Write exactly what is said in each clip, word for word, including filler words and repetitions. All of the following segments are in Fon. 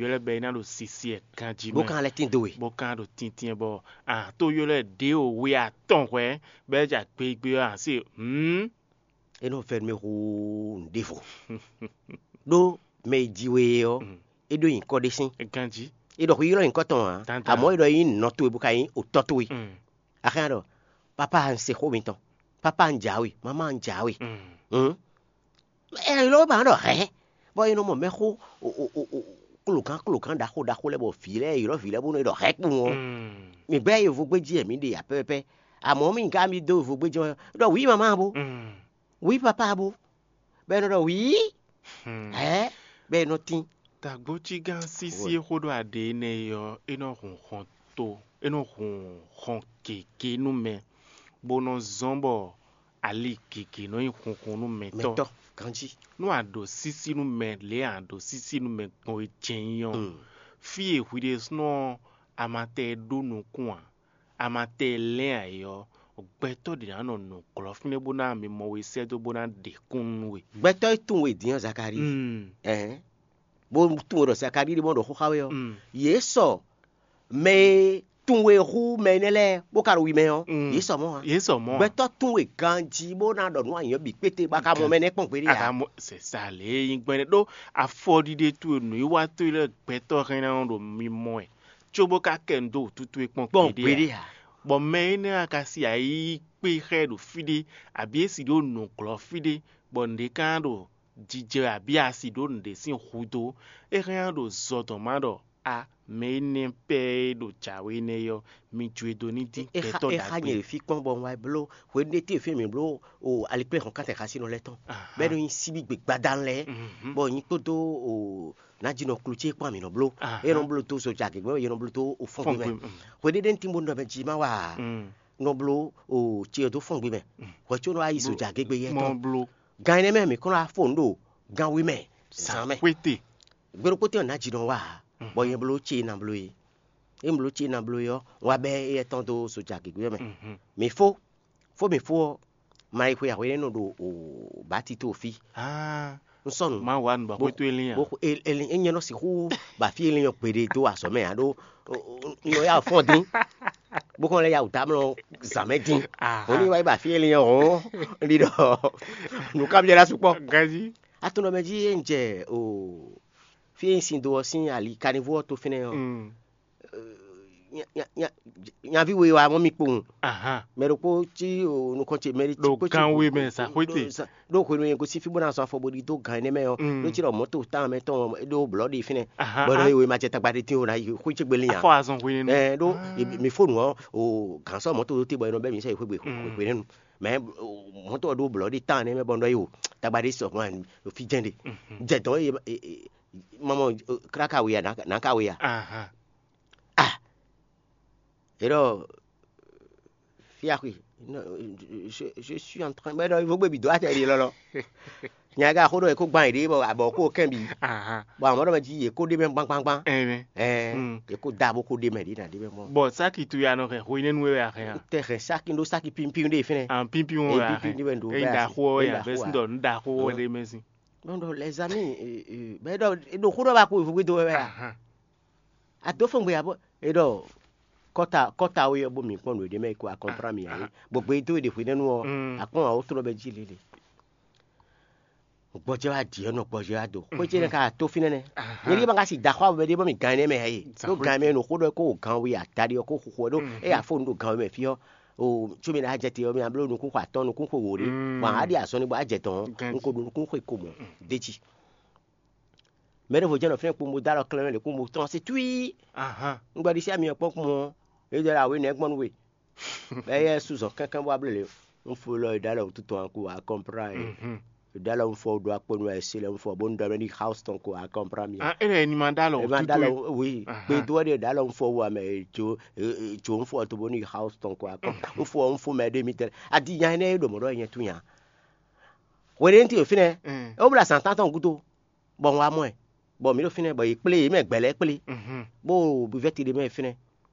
ylɔ́ bɔ é ná ɖo sisi ɛ ganjí bó mɛ, kan lɛ́ tín dó we. Bó ka ɖo tíntín bɔ a tó ylɔ́ ɖě o we atɔn hwɛ̌ bɔ é ja gbégbé ɔ́, a se hǔn. É nɔ vɛ́ nú mì hú nǔɖévo. Ɖó mɛ e ji we é ɔ́, é ɖó nyǐkɔ ɖé sín. Ganjí. É ɖɔ xwǐ ylɔ́ nyǐkɔ tɔn ǎ, Dandan. Amɔ̌ é ɖɔ é nyí nɔ towe bó ka nyí otɔ́ towe. Mm. Axɛ́ ɖɔ, "Papa, un se xó mitɔn. Papa, un jǎwe. Mamá, un jǎwe." Mm. Hǔn ɛ ylɔ́ ba ɖɔ hɛ̌, bɔ è nɔ mɔ mɛxó klogán klogán ɖaxó ɖaxó lɛ́ɛ bɔ vǐ lɛ́ɛ ylɔ́ vǐ lɛ́ɛ bónú è ɖɔ hɛ̌ kpowun ɔ́. Mm. Mǐ gbɛ́ yovógbéjí wɛ mǐ ɖe ǎ pɛ́pɛ́pɛ́. Amɔ̌ mǐ ka mì dó yovógbéjí ɔ́ ɖɔ wǐ mamá bó, Mm. wǐ papá bó, bɔ è nɔ ɖɔ wǐ Hmm. Hɛ̌, bɔ è nɔ tín. Tagbócígán sísí e xó ɖó aɖě énɛ́ é ɔ́, é nɔ hun xɔn to, é nɔ hun xɔn gěgé nú mɛ, bó nɔ zɔ́n bɔ ali gěgé nɔ nyí hunhun nú mɛtɔ́. Mɛtɔ́ ganjí. Nú a ɖo sísí nú mɛ lě e a ɖo sísí nú mɛ gbɔn é jɛ́n nyí ɔ́, Mm. fí e hwi ɖésúnɔ ɔ́, a ma tɛ ɖó nukún ǎ, a ma tɛ lɛ́n ǎ é ɔ́, gbɛtɔ́ ɖě ná nɔ nǔglɔ́ fínɛ́ bó ná mi mɔ we sɛ́ dó bó ná ɖe kúnnu nú we. Gbɛtɔ́ e tunwun we din ɔ́, Zakalíi. Mm. Ɛhɛn. Bó tunwun we ɖɔ Zakalíi ɖé mɔ ɖɔ xó xá we ɔ́, Mm. yě sɔ mɛ e tunwun we hú mɛ énɛ́ lɛ́ɛ bó ka ɖo wi mɛ ɔ́, Mm. yě sɔ mɔ̌ ǎ. Yě sɔ mɔ̌ ǎ. Gbɛtɔ́ tunwun we ganjí bó ná ɖɔ nǔ anyɔ̌ bǐ kpéte bó ka mɔ mɛ nɛ́ kpɔ́n gbeɖé ǎ. Aka mɔ sɛ sa lě e nyí gbɛ́nɛ́ ɖó afɔɖiɖe towe nǔwiwa towe lɛ́ɛ gbɛtɔ́ hɛn ná nɔ ɖo mi mɔ wɛ, cóbó ka kɛ nu dó wǔtútú e kpɔ́n Kpɔ́n gbeɖé gbeɖé ǎ. Ǎ. Bɔ mɛ énɛ́ ɔ́ ka si ayǐ kpé xá ɛ ɖo fí ɖé, abǐ é si ɖó nǔglɔ́ fí ɖé, bɔ nǔɖé ka ɖo jijɛ abǐ asi ɖó nǔɖé sín hudó, é hɛn ɖo zɔ dɔn má ɖɔ a mɛ énɛ́ pɛ́ e ɖo jǎwe énɛ́ ɔ́, mi jó e dó ní dín É xa gbɛtɔ́ é xa nyɛ ɖagbe. Ɖe fí kpɔ́n bɔ un wá bló hwenu ɖé tíe fí mǐ bló o alikpléhɔn kátɛ xasinɔ lɛ́ɛ tɔn. Aha. Bɔ é nɔ nyi síbí gbegbadan lɛ́ɛ, Mhm. bɔ nyí kpódó o nájínɔ klo ce kpɔ́n mǐ nɔ bló. Aha. É nɔ bló dó zojagě gbé, é nɔ bló dó o fɔ́n gbé mɛ. Fɔ́n gbé, mm. Hwenu ɖé ŋti bó nɔ mɛ jí má wa Mm. nɔ bló o ce ɔ́ dó fɔ́n gbé mɛ. Mm. Hwɛ có nɔ wá yi Bló- zojagě gbé yɛ mɔ tɔn. Bló. Gan énɛ́ mɛ mǐ kɔn nɔ wá fo nǔ ɖo gan we mɛ zǎn mɛ. Xwéte. Gbe ɖokpó tɛ́n ɔ́, nǎ jǐ nɔ wá ǎ, bɔ nyɛ bló ce e ná bló é. É un bló ce e ná bló é ɔ́, un wá bɛ́ éyɛ́ tɔn dó sojagěgbé ɔ́ mɛ. Mhm. Mǐ fó, fó mǐ fó ɔ́, ma yi xwe ahwe énɛ́ nɔ ɖo bǎtito fí. Ah, Un sɔ́ nǔ. Má wá nǔ bɔ Bó- xwé towe lín a? Bó xwe- e- e- e- nyɛ nɔ sixú ba fí e lín ɔ́ gbeɖé dó azɔ̌ mɛ ǎ ɖó un nɔ yá fɔ́n dín. Bó kɔn lɛ́ yá wǔ dá mlɔ zǎn mɛ dín. Aha. Hɔn ní wá yi ba fí e lín ɔ́ hɔn, un ɖi ɖɔ nǔkanbyɔ́ ná sukpɔ́. Ganjí. Atunɔ mɛ jí e un jɛ o fí e un sin do ɔ́ sín ali kanivú ɔ́ tó fínɛ́ ɔ́, Mm. nya- nya- nya- nyaví we wá mɔ mì kpowun. Aha. Mɛ ɖokpó cí o nukɔn ce mɛ ɖé Ɖo kpó cí gan we mɛ, sa xwete. Sa- ɖó hwenu e gosín fí bó ná zɔn afɔ bó ɖi dó gan énɛ́ mɛ ɔ́, Mm. Ɖó cí ɖɔ mɔ̌to tán mɛ tɔn ɖó blɔ̌ ɖi fínɛ́. Aha, Bɔ ah. Nɔ yi we ma jɛ tagba ɖé tín o ná yi xwé ce gbé lin ǎ. Afɔ azɔn hwenu. Ɛ ɖó Ah. mi fó nǔ ɔ́ o gǎn sɔ́ mɔ̌to ɖó te bɔ e nɔ bɛ́ mi sɔ́ yi xwé gbe Mm. hwenu. Mɛ o, mɔ̌to ɔ́ ɖó blɔ̌ ɖi tán nɛ́ mɛ bɔ un ɖɔ yi o tagba ɖé sɔ hɔn fí jɛ́n ɖe. Mhm. Jɛ dɔn e e- e- mamɔ káká we ya nǎ ka we ya. Aha. Ah. E ɖɔ fia xwe, non, je, je suis en train, mais non, il faut que mi do atɛ ɖi lɔlɔ. Nya ga xo ɖɔ e ko gban yi ɖe bɔ abɔ ko kɛn bi. Aha. Bɔ amɔ ɖɔ mɛ ji ye ko ɖe mɛ gbangban. Ɛmɛ. Ɛɛ, Mm. E ko da bo ko ɖe mɛ ɖi na ɖe mɛ mɔ. Bɔ saki tu ya nɔ hɛn xo yi nɛnu wɛ a hɛn a? Tɛ hɛn saki ɖo saki pinpin ɖe fɛnɛ. An pinpin wo E ya pinpin hɛn. Ɖe mɛ ɖo E bɛ da asi. Xo E ya da bɛ xo sin a. Dɔ n da xo wɛ Mm. Ɖe mɛ sin. Ɖɔ ɖɔ les amis, bɛ ɖɔ e ɖo xo ɖɔ ba ko evo gbedo wɛ a? Aha. A dó fɔn gbe abo e ɖɔ kɔta kɔta wo yɔ bo mi kpɔn nǔ ɖe mɛ ko a kɔnplan mi ayi. Bɔ gbe do e ɖe hwe nɛnu ɔ Mm. A kpɔn awo trɔ bɛ ji lele. Gbɔjɛ wa di ɔnɔ gbɔjɛ wa do xwe ce ne ka to fi nɛnɛ. Aha. Nyɛ ɖi ma ka si da xɔ awo bɛ ɖe bɔ mi gan ne mɛ ye. Sa Ɖo xwe gan mɛ no xo ɖɔ ko gan wi a da ɖi ɔ ko xo xo ɖo Mhm. E a fo nu ɖo gan mɛ fi ɔ. O tso mi na jɛ te ɔ mi a blo nukun xɔ atɔn nukun xɔ wo ɖe. Mm. Bɔn a ɖi azɔn ni bɔ a jɛ tɔn Gan n ko ɖo nukun xɔ ko mɔ de ci. Mɛ ɖevo jɛ nɔ fɛn kpombo da lɔ klɛn mɛ ɖe kpombo tɔn se tui. Aha. N gbɔ ɖi si ami ɔ kpɔn kpɔn ɔ. E jɛ la awe nɛ gbɔn nu we. Bɛ yɛ su zɔn kɛnkɛn bɔ able le. N fo lɔ e da lɔ tutu an ko a kɔmpra e. Mhm. E da lɔ n fɔ do akpɔ nu e se lɛ n fɔ bo n dɔ mɛ ni house tɔn ko a kɔmpra mi. Ah, ele ni ma da lɔ E ma da tutu lɔ e. Wi. Aha. Gbe do de da lɔ n fɔ wa mɛ e jo e- e- jo n fɔ to bo ni house tɔn ko a kɔmpra. N fɔ n fo mɛ de mi tɛ. A di nya ne e do mɔ dɔ nyɛ tu nya. Wele n ti o finɛ. Mm. E o bla san tan tɔn gudo. Bɔ n wa mɔ ɛ. Bɔ mi ɖo finɛ bɔ yi kple yi mɛ gbɛlɛ kple. Mhm. Bo bivɛti ɖe mɛ finɛ.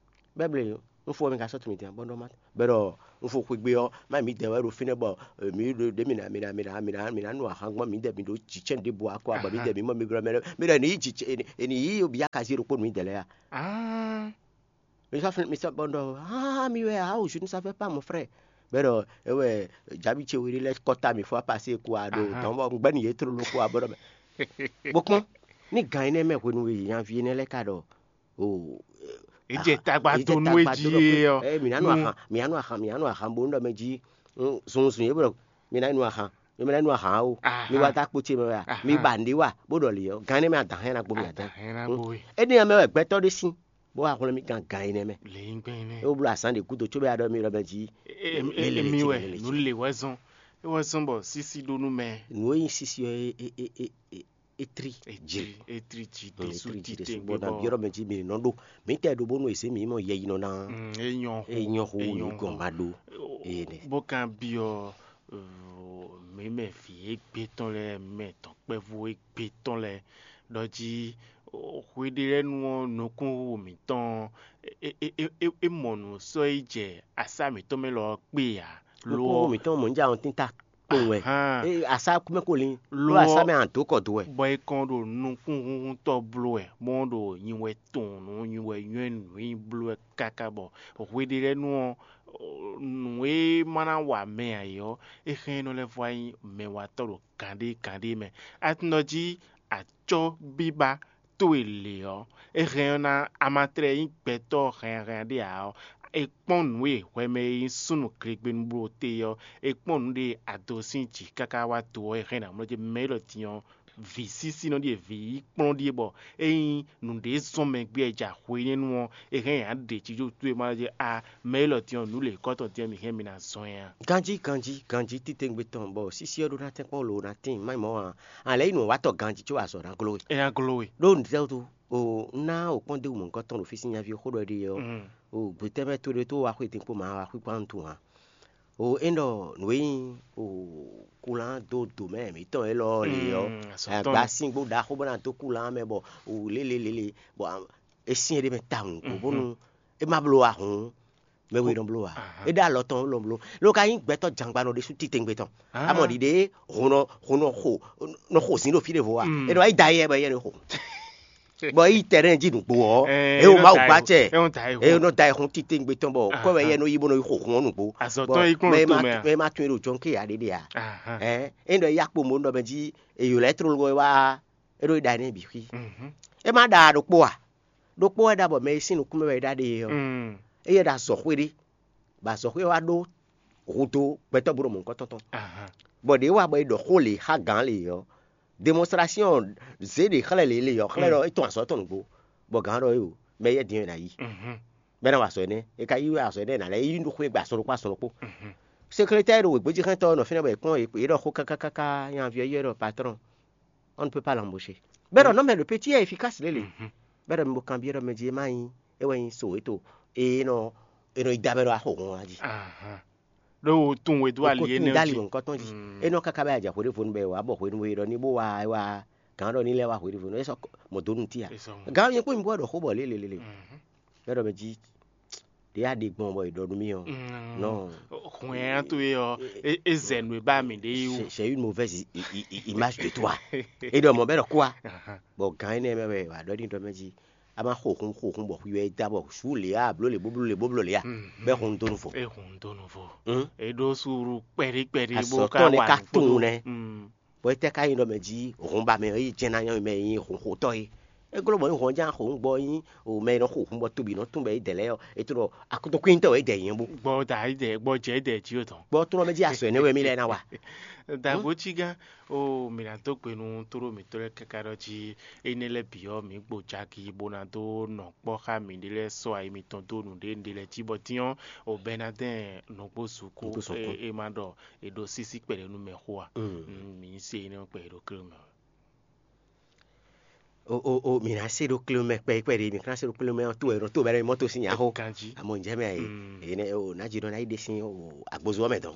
Bɛbli n fɔ mi ka sɔ tumi dian bɔ n dɔ ma. Bɛ dɔ Un fo xwegbe ɔ́, má mǐdɛɛ wɛ ɖo fínɛ́ bɔ mǐ ɖo ɖě mǐ ná mǐ ná mǐ ná mǐ ná mǐ ná nu ahan gbɔn mǐdɛɛ mǐ ɖo jǐcɛ́n ɖěbǔ wá kɔ bɔ mǐdɛɛ mǐ mɔ mǐ glɔ́ mɛ lɛ́ɛ. Mǐ ɖɔ è nǐ yí jǐ è nǐ yí obyákazi ɖokpó nǔ mǐdɛɛ lɛ́ɛ a? Mi sɔ́ fínɛ́ mi sɔ́ bɔ un ɖɔ aa mì wɛ a o je ne savais pas mon frère. Bɔ é ɖɔ é wɛ jǎbi ce we ɖé lɛ́ɛ kɔ́ta mǐ fó apasí e ku a ɖo dɔ̌n bɔ un gbɛ́ nǔ yě tlóló kú a bɔ ɖɔ mɛ. Bó kpɔ́n ní gan énɛ́ mɛ hwenu e nyaví énɛ́ lɛ́ɛ ka ɖɔ o È jɛ tagba dó nú é jí é ɔ́. Ɛ mǐ ná nu ahan, mǐ ná nu ahan, mǐ ná nu ahan bónú ɖɔ mɛ jí zunzun yě bɔ mǐ ná nu ahan, mǐ ná nu ahan o. Mi wá dó akpo ce mɛ wɛ a? Mi ba nǔɖé wa bó ɖɔ lě ɔ́, gán énɛ́ mɛ adǎn hɛn ná gbo mì adǎn. Énɛ́ ɔ́ mɛ wɛ gbɛtɔ́ ɖé sín bó wá hwlɛ́n mì gán gán énɛ́ mɛ. É wó bló azǎn ɖě gúdo cóbɔ é wá ɖɔ mì ɖɔ mɛ jí. Emi wɛ nǔ le wɛ zɔn, é wɛ zɔn bɔ sísí ɖó nú mɛ. Nǔ e nyí sísí ɔ́, é é é é é étrí Etri etri jí ɖésú titewungbe bɔ na bɔ biɔ́ ɖɔ mɛ jí mi nɔ ɖó. Mǐtɛɛ ɖo bónú è zě mǐ mɔ yɛyinɔ ná. Mm, é nyɔ xo É nyɔ xo é nyɔ wǔ gɔn xo. Ma Ɖó. Ene. Bó kan byɔ́ mǐ mɛ vǐ égbé tɔn lɛ́ɛ, mǐ mɛ dɔ̌nkpɛvú égbé tɔn lɛ́ɛ ɖɔ jí hweɖé lɛ́ɛ nu ɔ́, nukúnxixo mǐtɔn ɔ́, é é é é é mɔ nǔ sɔ́ yi jɛ asá mǐtɔn mɛ lɔ ɔ́ kpé ǎ. Lo Nukúnxixo mǐtɔn mɔ níjà ɔ́ tínta kpowun wɛ. Ahan. Ée asá kúmɛ ko lín. Lo Lo asá mɛ àn dó kɔ dó wɛ. Bɔ è kɔn ɖo nukúnhúnhúntɔ́ bló wɛ, bɔ wọ́n ɖo nyi wɛ tɔn nǔ nyi wɛ nywɛ́ nǔ nyi bló wɛ káká bɔ hweɖé lɛ́ɛ nu ɔ́, nǔ e ma ná wa mɛ ǎ é ɔ́, é hɛn nɔ lɛ́ vɔ wá nyí mɛwatɔ́ ɖo gǎnɖé gǎnɖé mɛ. A tunɔ jí acɔ́ bíbá towe lě ɔ́, é hɛn ɔ́ ná a ma tlɛ nyí gbɛtɔ́ hɛnhɛn ɖé ǎ ɔ́, è kpɔ́n nǔ e hwɛ mɛ e nyí súnnu glegbenu bló te ɔ́, è kpɔ́n nǔ ɖe a dó sín jǐ káká wá do ɔ́, è hɛn ná mlɔ́ jí mɛ élɔ́ din ɔ́, vǐ sísínɔ ɖíe, vǐ yi kplɔ́n ɖíe, bɔ ényí nǔɖé zɔn mɛ gbé ɛ ja hwenɛ́nu ɔ́, è hɛn nya ɖe jíjó towe ma jí a mɛ élɔ́ din ɔ́, nǔ lě kɔ́tɔn din ɔ́, mǐ hɛn mi ná zɔn ɛ a? Ganjí ganjí ganjí titewungbe tɔn bɔ sísí ɔ́ ɖó ná tɛ́nkpɔ́n lo ná tíin má nyí mɔ̌ ǎ. A lɛ̌ yi nǔ watɔ ganjí có azɔ̌ ná gló we. É ná gló we. Ɖó nǔtɛ́ wútu? O un ná o kpɔ́n ɖěbǔ mɔ̌hunkɔtɔn ɖo fí sín nyaví xó ɖɔ ɖe ɔ́, o gbětɛ́mɛ to ɖé tó wá xwetɛn kpó mǎ wá xwíkpá nú tun ǎ. O é ɖɔ nǔ e nyí o kulán dó dǒ mɛ mǐtɔn élɔ́ lě ɔ́, agba sín gbó ɖaxó bó ná dó kulán mɛ bɔ o lélelélé bɔ é syɛ́n ɖé mɛ tawun bónú é má bló wá hǔn mɛ we nɔ bló wá. É ɖó alɔ tɔn nɔ bló. Ló ka nyí gbɛtɔ́ jangbanɔ ɖésú titewungbe tɔn. Amɔ ɖiɖe hun nɔ hun nɔ xo nɔ xo zǐn ɖo fí ɖěvo a? É nɔ yi da yɛ bɔ yɛ nɔ xo. Bɔ yi tɛnɛ́ jí nǔgbó ɔ́, é wo Mawu gbá cɛ é nɔ da yi hun titewungbe tɔn bɔ kɔ́ wɛ yɛ nɔ yi bó nɔ yi xo hun ɔ́ nǔgbó. Azɔ̌tɔn yi kplɔ́n ɖo tomɛ a? Mɛ ma tún e ɖo jɔn ké ya ɖéɖé a? É nɔ ya kpo mo nɔ mɛ jí èyǒ lɛ́ tlóló wɛ wá é ɖo yi ɖa nɛ́ bǐ xwí. É má ɖa ɖokpó a? Ɖokpó wɛ ɖa bɔ mɛ e sín nukún mɛ wɛ é ɖa ɖe é ɔ́, é yɛ ɖo azɔ̌xwé ɖé, bɔ azɔ̌xwé ɔ́ wá ɖó hudó gbɛtɔ́ bó ɖo mɔ̌hunkɔtɔn tɔn. Bɔ ɖě wa bɔ è ɖɔ xó lě xá gǎn lě ɔ́, demonstration zě ɖě xlɛ́ lě lě ɔ́, xlɛ́ ɖɔ é tɔn azɔ̌ tɔn nǔgbó, bɔ gǎn ɖɔ éo, mɛ éyɛ́ din ɔ́ è nǎ yí, bɔ é ná wa azɔ̌ énɛ́. È ka yí wɛ azɔ̌ énɛ́ è nǎ lɛ́ yí nú xwé gbe azɔn ɖokpó azɔn ɖokpó. Seklétɛ́ e ɖo wěgbéjí xlɛ́ntɔ́ ɔ́ nɔ fínɛ́ bɔ è kpɔ́n yě ɖɔ xó káká káká, nyaví ɔ́ yí wɛ ɖɔ patrɔ́n, on ne peut pas l'embaucher. Bɛ́ ɖɔ nɔ́ mɛ ɖo petit est efficace lě lě. Bɛ́ ɖɔ mi bo kanbyɔ́ ɖɔ mɛ jí é má nyí é wɛ nyí so éto e nɔ e nɔ yi da mɛ ɖo axo hɔn ɔ́ jí. Ɖó wo tún we dó ali Ko énɛ́ tún dali jí. Mɔ̌hunkɔtɔn jí. É nɔ káká bɛ adza hweɖévonu bɛ wǎ bɔ hwenu e ɖɔ ní bó wá é wá gǎn ɖɔ ní lɛ́ wá hweɖévonu é sɔ mɔ dó nu tía. Gǎn nyɛ kpó mi bó wɛ ɖɔ xó bɔ lélelélele. Bɛ́ ɖɔ mɛ jí ɖě a ɖe gbɔn bɔ è ɖɔ nú mì ɔ́. Non. Hwɛ̌n to é ɔ́, é zɛ nǔ e ba mì ɖe yi wú. C'est une mauvaise image de toi. É ɖɔ mɔ bɛ́ ɖɔ kó a. Bɔ gǎn énɛ́ mɛ wɛ wǎ ɖɔ ní ɖɔ mɛ jí a ma xo hun xo hun bɔ xwi wɛ é da bɔ sú lě a bló lě bóbló lě bóbló lě a bɛ́ hun dó nu fɔ. É hun dó nu fɔ. É ɖó suuru kpɛɖí kpɛɖí bó ka azɔ̌tɔn ne wà ka nǔ kúdó. Tunwun nɛ. Bɔ étɛ́ ka nyí ɖɔ mɛ jí hɔn ba mɛ ɔ́ yi jɛ́n ná nyɔ́ mɛ e nyí hɔnxotɔ́ é? É gló bɔ nyí hɔn ján xo nǔgbɔ nyí o mɛ e nɔ xo hun bɔ tobi nɔ tún bɔ é dɛ lɛ́ɛ ɔ́, é to ɖɔ akutɔkwíntɔ́ wɛ é dɛ nyɛ bó. Gbɔ da yi dɛ gbɔ jɛ dɛ jí o tɔn. Gbɔ tó nɔ mɛ jí asɔ ɛnɛ wɛ mí lɛ ná wa. Dagbo cí gán o mǐ ná dó gbe nú tóɖó mǐtɔn lɛ́ɛ káká ɖɔ jí énɛ́ lɛ́ɛ bǐ ɔ́ mǐ gbo jaki bó ná dó nɔ kpɔ́ xá mǐɖée lɛ́ɛ sɔ́ ayi mitɔn dó nǔɖé nǔɖé lɛ́ɛ jí bɔ dín ɔ́ o Bɛnadɛ́n nɔgbó zukú. Nɔgbó zukú. É é má ɖɔ è ɖo sísí kpɛɖé nú mɛ xó a? Mǐ se énɛ́ kpɛ è ɖo klé mɛ. O o o mǐ ná se ɖó klé mɛ kpɛɖé kpɛɖé mǐ ká se ɖó klé mɛ ɔ́ tó wɛ nɔ tó bɛ́ ɖɔ mɔ́ tó sín nya xó. Ganjí. Amɔ ǹjẹ́ mɛ ɛ yé o ná jí nɔ ná yi ɖe sín o agbozó ɔ́ mɛ dɔn.